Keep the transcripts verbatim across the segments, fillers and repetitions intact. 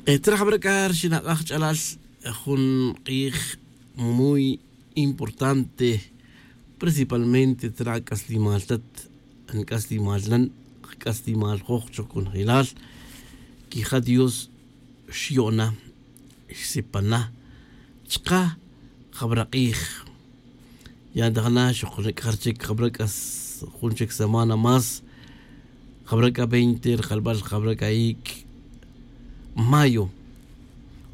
Tzra jabara' c'a rixin ak'aj ch'alal, jun k'ij muy importante, principalmente tzra c'aslimal tat, nc'aslimal nan, kc'aslimal joj choj conjelal. Quija' dios xyo'na, xsipana chka jabara' k'ij. Ya ntajna xok nic'aj rchic jabara' c'a jun chic semana más. Jabara' c'a veinte rjalbal jabara' c'a ic' mayo.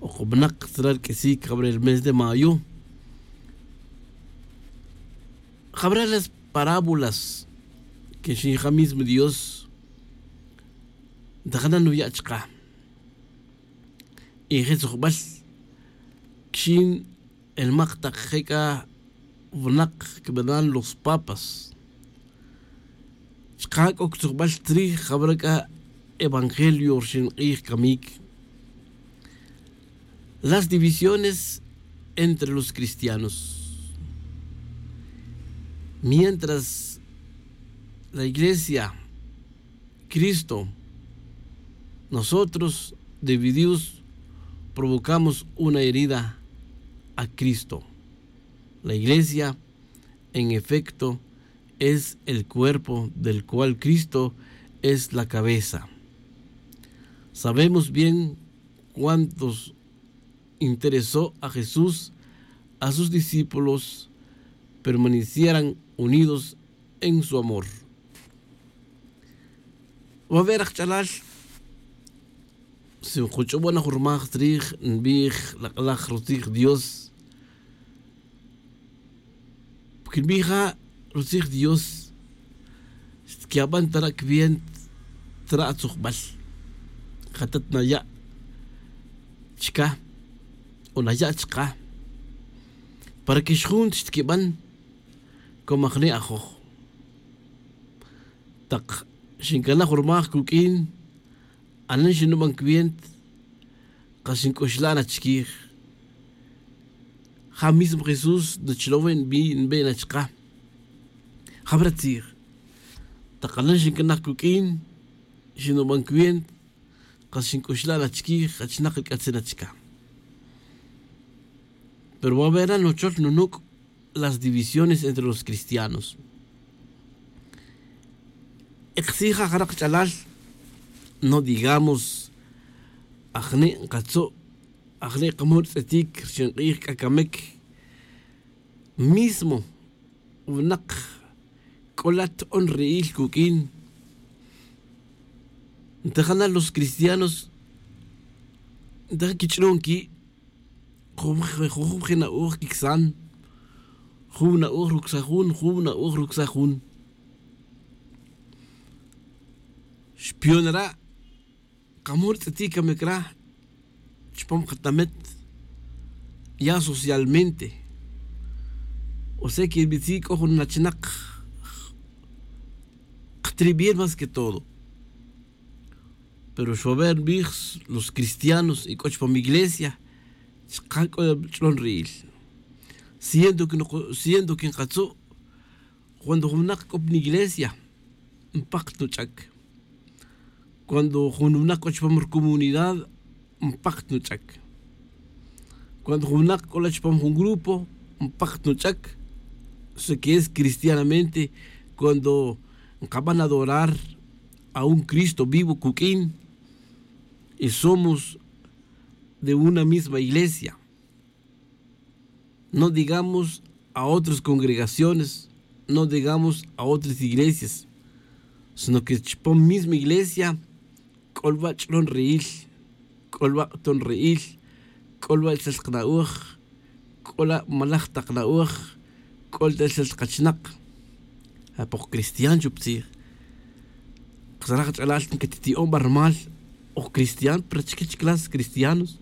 Ok winak tzra' rq'uisic jabara' el mes de mayo. Jabara' las parábolas que xija' mismo dios ntajna nuya' chka. Y je' tzujbal quixin el mak tak je' c'a winak cbenan los papas. Chka c'o ctzujbal tzrij jabara' c'a evangelio rixin k'ij camic. Las divisiones entre los cristianos. Mientras la iglesia cristo, nosotros divididos provocamos una herida a cristo. La iglesia en efecto es el cuerpo del cual cristo es la cabeza. Sabemos bien cuántos interesó a jesús a sus discípulos permanecieran unidos en su amor. Va a ver ajch'alal si nkuch'obona jun rmaj tzrij nbij lak'laj rutzij dios. Porque nbij ja' rutzij dios xtqyaban tara' cwient tara' atzujbal. Jatat naya' chca o naya' chka para que xjun xtquiban. Como ajni' ajoj tak xincanaj jun rmaj cuq'uin anen xinuban cwient kas xinc'uxla' na chiquij. Ja mismo jesús nuchlowe' nbe' na chka. Jabara' tzij tak anen xincanaj cuq'uin xinuban cwient kas xinc'uxla' na chiquij achnak nc'atzin na chka. Pero va a ver na nuchol nunuc' las divisiones entre los cristianos. Ekxija' jarak ch'alal no digamos ajni' nkatzu' ajni' kamul tz'itic rixin k'ij k'a camic. Mismo winak c'o la' to'on ri'il cuq'uin. Ntajana los cristianos ntaja quich'lon qui' jujub je' na'oj quicsan. Jun na'oj rucsaj jun jun na'oj rucsaj jun. Xpionara' kamul tz'itic camic ra chupam katamet ya socialmente. O sea que nbitzi c'o jun nachnak ktribiel más que todo. Pero xwaber nbij los cristianos y c'o chupam iglesia chka c'o ch'lon ri'il. Siendo que nkatzu' cuando jun winak c'o pa iglesia npakt nuch'ac. Cuando jun winak c'o chupam rucomunidad npakt nuch'ac. Cuando jun winak c'o la chupam jun grupo npakt nuch'ac. Eso que es cristianamente cuando nkaban adorar a un cristo vivo cuq'uin y somos de una misma iglesia. No digamos a otras congregaciones no digamos a otras iglesias. Sino que chupam misma iglesia c'o lwa' ch'lon ri'il. C'o lwa' ton ri'il. C'o lwa' tzal kna'oj. C'o la' malaj tak na'oj. C'o la' tzal kachnak. Apok cristian chup tzij. Ksaraj ch'alal nkatiti'on barmal oj cristian pero chkech clase cristianos.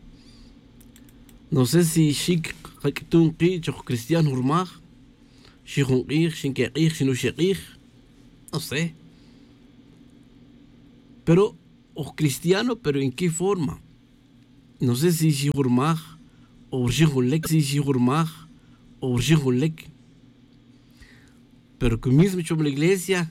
No sé si xic kak'tun ki' choj cristian jun rmaj. Xijun k'ij xinkek'ij xinux ek'ij. No sé. Pero oj cristiano pero en qué forma? No sé si xijun rmaj o rxijun lek si xijun rmaj o rxijun lek. Pero que mismo chom la iglesia